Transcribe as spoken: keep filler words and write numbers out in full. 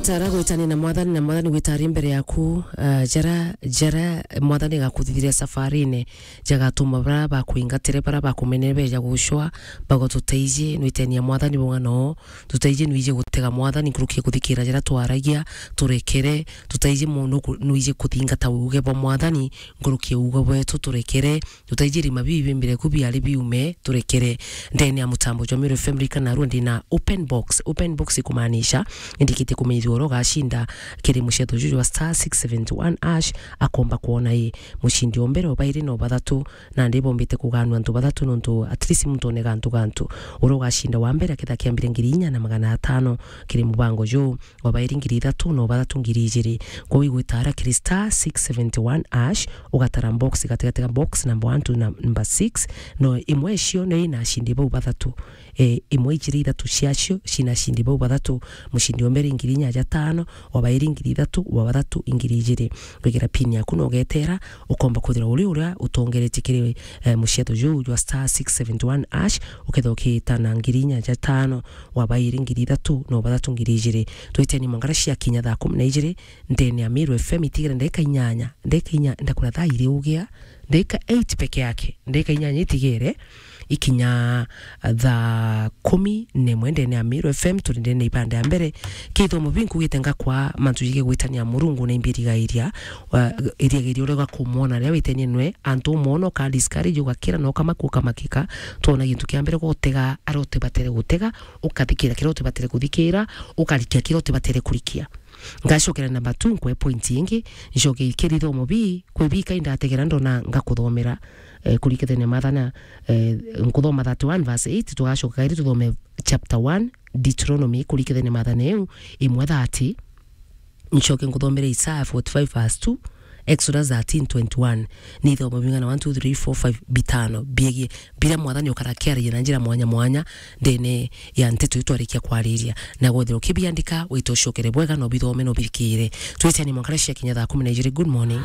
Tara gwitania na Mwathani, na Mwathani gwita ari mbere yaku, ah, jara, jara Mwathani agakuthithire safarine, jagatuma bara bakwingatire, bara bakumenere beja gucwa, bago tuteithie, nwitenia Mwathani bung'ano, tuteithie nwije gutega Mwathani nkuruki ya kuthikira jara twaragia, turekere, tuteithie mu-, nuku-, nwije kuthingata uge bwa Mwathani nkuruki ya uge bwetu, turekere, tutaijiri mabibi mbere ku biari biume, turekere. Ndene ya mutambo jwa Meru F M rika narua ndina open box. Open box ikumaanisha indikitie kumenyithua uria ugashinda kiri mucetho juju wa star six seventy one hash, akomba kwona i mushindi o mbere o bairi no bathatu, na ndi bombite kuganua antu bathatu nontu at least muntu onega antu gantu. Uria ugashinda wa mbere aketha kiambire ngiri inya na magana atano kiri mubango juu. Wa bairi ngiri ithatu, na wa bathatu ngiri ijiri. Kwou igwita ara kiri star six seventy one hash, ugatara box gatigati ga box number one to number six, no imwe icio ni ina ashindi bau bathatu. E, imwe ijiri ithatu ciacio cina ashindi bau bathatu, mushindi o mbere ngiri inya ja tano, wa bairi ngiri ithatu, wa bathatu ngiri ijiri. Wigira pin yaku na ugetera, ukomba kwithira uri uria utongeretie kiri, e, mucetho juu jwa star six seventy one hash, ukethira ukiita na ngiri inya ja tano, wa bairi ngiri ithatu, na wa bathatu ngiri ijiri. Twiteni mangara cia kinya thaa kumi na ijiri, ndene ya Meru F M itigire ndeka inyanya, ndeka inya, ndakura thaa iri ugia, ndeka eight peke yake, ndeka inyanya itigire, ikinya thaa kumi na imwe ndene ya Meru F M, turi ndene ibanda ya mbere. Kithomo binkugite ngakwa mantu jige gwitania Murungu na imbirigairia, wa, iriagiria uria ugakumwona riria witenie nwe, antu umwona uka discourage, ugakira na ukamaku ukamakika, twona gintu kia mbere gutega, aria utibatere gutega, ukathikira kiria utibatere kuthikira, ukarikia kiria utibatere kurikia. Ngacokera number two, nkwe point ingi, ncoke ikiri thomo bi, kwi bika indategera ndona ngakuthomera, eh, kurikithania mathana, eh, nkuthoma thirty-one verse eight, tugacoka kairi tuthome chapter one, Deuteronomy, kurikithania mathana eu, imwe thirty, ncoke nkuthomere Isaiah forty-five verse two, Exodus thirteen twenty-one. Ni ithomo bing'ana, one, two, three, four, five, bitano, biegie biria Mwathani ukarakiaragia na njira mwanya mwanya ndene ya nteto iu twarikia kwariria. Na gwethira ukibiandika, wite ucokere bwega, no bithome, no bithikire. Twiteni mwankara cia kinya thaa kumi na ijiri. Good morning.